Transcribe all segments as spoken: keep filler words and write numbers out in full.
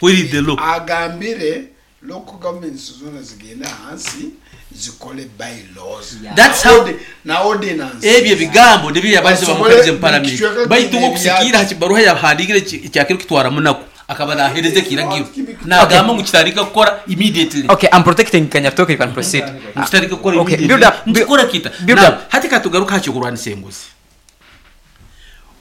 Where is the law? Agambire local governments zoona zigende ahansi zikole bylaws. That's how- Na ordinance. Ebyo ebigambo nibyo yabarize Basobole bamukabirize mu palamenti. buli kicweka Baitu kiine okusikiira ebyakyo. ha kibaruha yahandikire kyakiro kitwara munaku akaba nahereza ekiragiro nagamba ngu kitandika kukora immediately. Okay, I'm protecting Kanyatoke, you can proceed. Kitandika kukora Okay, immediately. build up, build- Nkikora kita. build Now, up. hati katugaruka ha kyokurwanisa enguzi.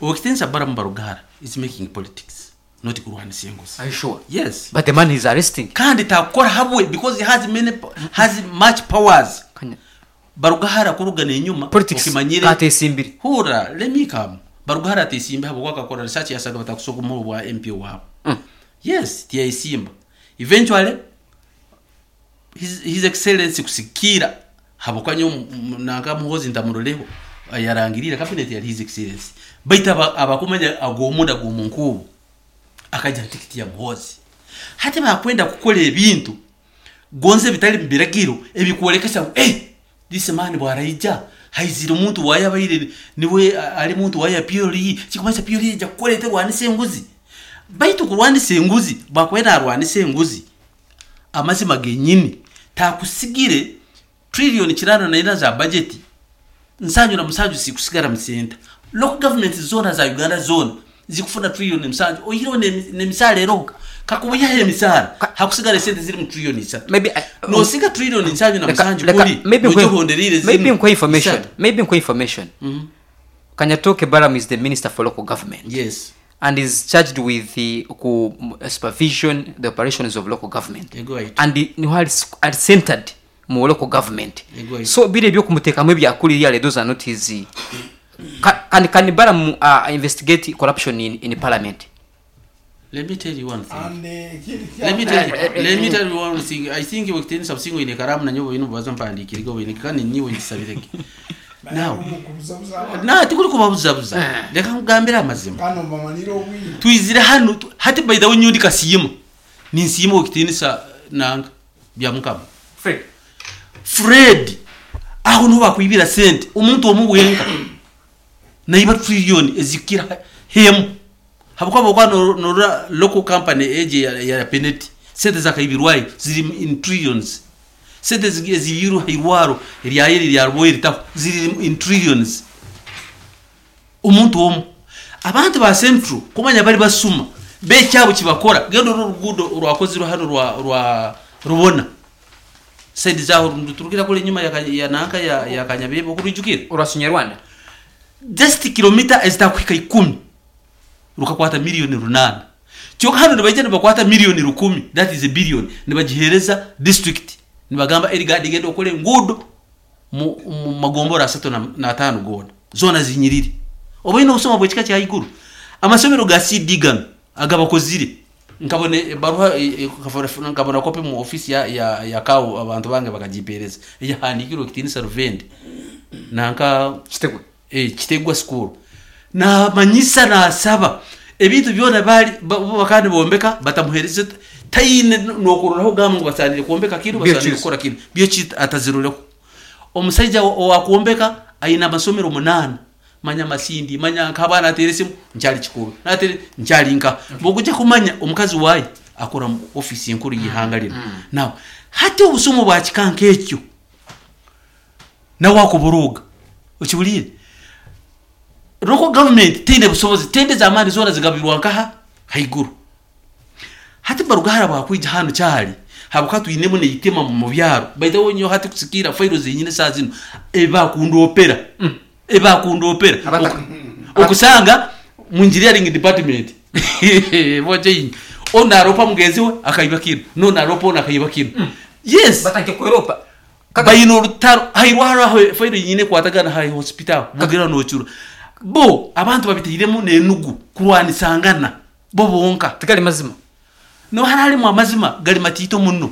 Owekitinisa Balaam Barugahara is making politics, not kurwanisa enguzi. Are you sure? Yes. But the man is arresting. Kandi takukora habwe because he has many, has much powers. Kanya- Barugahara kurugana enyuma Politics. okimanyire. Katesimbire. Hura, let me come. Barugahara atesimba habwo akakora research yasaga batakusoka mu bwa M P wabo. Mm. Yes, tiyayisimba. Eventually his, his Excellency kusikira habokwanyo nanka Muhozi ndamuroleho yarangirira cabinet ya His Excellency, baita aba- abakumanya agomunda gomunkubo akaja tikiti ya Muhozi. Hati bakwenda kukola ebintu gonze bitali mubiragiro ebikwolekesa ngu eh, this man bwaraija haizire omuntu wayabaire niwe a- ali muntu waya P L E, kikumanyisa P L E ejja kukola eterwanisa enguzi. Baitu kurwanisa enguzi, bwakwenda arwanisa enguzi, amazima genyini takusigire trillion kirano naina za budget, nsanju na musanju sikusigara musenta. Local government zona za Uganda zona zikufuna trillion musanju, oyireho n'emisaala eroho. Kakubuyaho emisaala, hakusigara esente ziri mu trillion isatu. Maybe I- Nosiga trillion nsanju na Leka- musanju leka- kuri maybe nkwe- nogihonderire maybe zinu nkwe information. isatu. Maybe nkwe information. Kanyatoke Balaam is the minister for local government Yes. and is charged with the ku, supervision the operations of local government. Ego right. And the- niho ali ali centered mu local government. Ego right. So biri ebyokumuteekamu ebyakulira, those are not his. Can, can, can Balaam uh, investigate corruption in, in parliament? Let me tell you one thing. And ekindi Let me tell you, Eh, eh, let me tell you one thing. I think wakitenisa busingo ine karamu na nyobo ino baza mpandikire go ine kandi niwe ngisabireke. Now, na tikuri kubabuzabuza. Reka nkugambire amazima. Kano mbamanire obwire. Twizire hano tu- hati by the way nyundi kasiyima. Ninsiyima wakitenisa nanga bya mukama. Fred. Fred aho niho bakwibira sente, omuntu omu wenka naiba trillion ezikira hemu habwokuba bwokuba norora local company eje ya, ya peneti, sente zakaibirwayo ziri in trillions. Sente ezi- ezibirwe hairwaro eryayeri lya ritaho ziri in trillions, omuntu omu. Abantu ba Central kumanya bari basuma bekyabo kibakora. Genda uru rugudo rwakozirwe hano rwa rwa rubona side zaho turukira kule nyuma ya, ya nanka ya, ya Kanyabebo kurijukira. Urwasunyarwanda. Just kilomita ezitakuhika ikumi rukakwata miliyoni runana. Kyonka hano nibaija nibakwata miliyoni rukumi, that is a billion, nibagihereza district, nibagamba erigadi genda okole enguudo mu, mu magombora asatu na, na atano gona zona zinyirire. Oba ine obusoma bwekika kya iguru, amasomero ga C D gano agabakozire, nkabona ebaruha e- e- nkabona- nkabona kopi mu ofisi ya, ya, ya kawo, abantu bange bakagipereza eyahandikirwe kitinisa Ruvende nanka Kitegwe. eh, Kitegwa School. Namanyisa nasaba ebintu byona bali ba- bo bakandi bombeka batamuhereze, tayine nokuroraho gamba ngu basanire kwombeka kinu, basanire Byokizi. kukora kinu byoki, ataziroreho. Omusaija owakuombeka ayina amasomero munaana, manya Masindi, manya nk'abaana atere esimu nkyali kikulu natere nkyali nka bwokujja kumanya omukazi waaye akora mu ofisi enkuru y'ihanga lino. Now hati obusomo bwa kika nk'ekyo nawe akuburuga okibuliire. Local government teine busobozi, tende z'amaani zoona zigabirwa nkaha haiguru. Hati Barugahara bwakwija hano kyali habuka twinemu neitima mu byaro. By the way, nyo hati kusikira failo zenyine saa zino ebakundopera ebakundopera Abata- Oku- okusanga mu engineering department boje ono aropa mugenzi we akaiba kino, nono aropa ono akaiba kino. Yes. Batanke kweropa. Bayina olutalo hairwaro aho failo nyine kwatagana hai hospital bugira nocura bo abantu babiteiremu nenugu kurwanisangana bo bonka. Tigali mazima. No haralimu amazima gali matiito muno,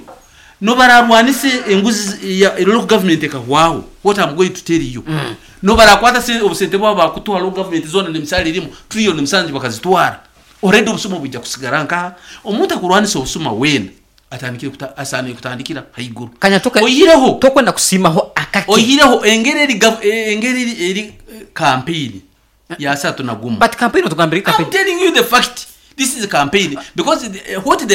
no bararwanise enguzi ya local government ekahwaho. What I'm going to tell you, mm. no barakwata se obusente bwabo bakutwara local government zona nemisale erimu trillion musanju bakazitwara already, obusuma bujja kusigara nkaha. Omuntu akurwanisa obusuma wena atandikire kuta, asanire kutandikira haiguru. Kanyatoke. Oyireho Tokwenda kusimaho akake. Oyireho engeri eri gav- eh, engeri eri, eri eh, campaign ya satu na gumu. But campaign otugambire I'm campaign. telling you the fact. This is a campaign because the, what they are